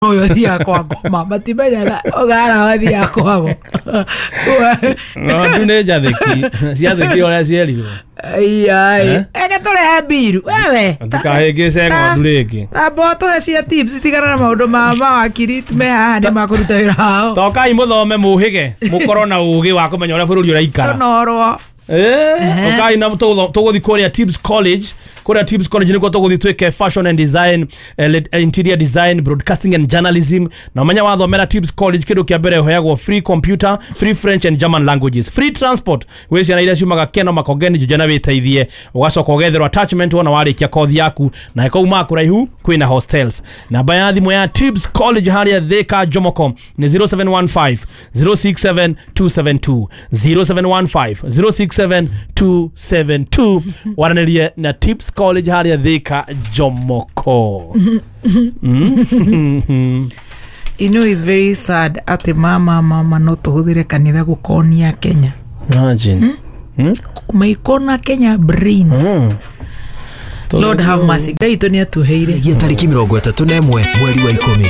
Ũyũ ũthiaga kwa ngoma matimenyaga ũgara wathiaga kwao. Ng'ondu nĩ njathĩki, ciathĩki ũrĩa cierirwo. Iyai. Eh? Eke tũrehe mbiru wewe. Ndũkahĩngĩce ng'ondu rĩngĩ. Tamba tũhe cia tips, tigana na maũndũ ma mawakiri me haha nĩ makũruta wĩra wao. Tokai mũthome, mũhĩge, mũkorwo na ũgĩ wa kũmenya ũrĩa bũrũri ũraikara. Tũnorwo. Eh, ũkai na tũgũthiĩ kũrĩa Tibbs College. Kũrĩa Tibbs College nĩkuo tũgũthiĩ twĩke fashion and design, interior design, broadcasting and journalism. Na ũmenya wathomera Tibbs College, kĩndũ kĩa mbere ũheagwo free computer, free French and German languages, free transport gwĩ ciana iria ciumaga Keno, Makongeni, Juja na wĩteithie. Ũgacoka ũgetherwo attachment wona warĩkia kothi yaku, na ĩkaumaa kũraihu kwĩna hostels. Namba ya thimũ ya Tibbs College harĩa Thika Jomoko nĩ 0715 067 272, 0715 067 272. Waranĩrie na Tibbs College harĩa Thika Jomoko. You know it's very sad atĩ mama no tũhũthĩre kanitha gũkonia Kenya. Imagine. Maikona Kenya brains. Lord have mercy. Ngai witũ nĩ atuheire. Tarĩki 31 mweri wa 10.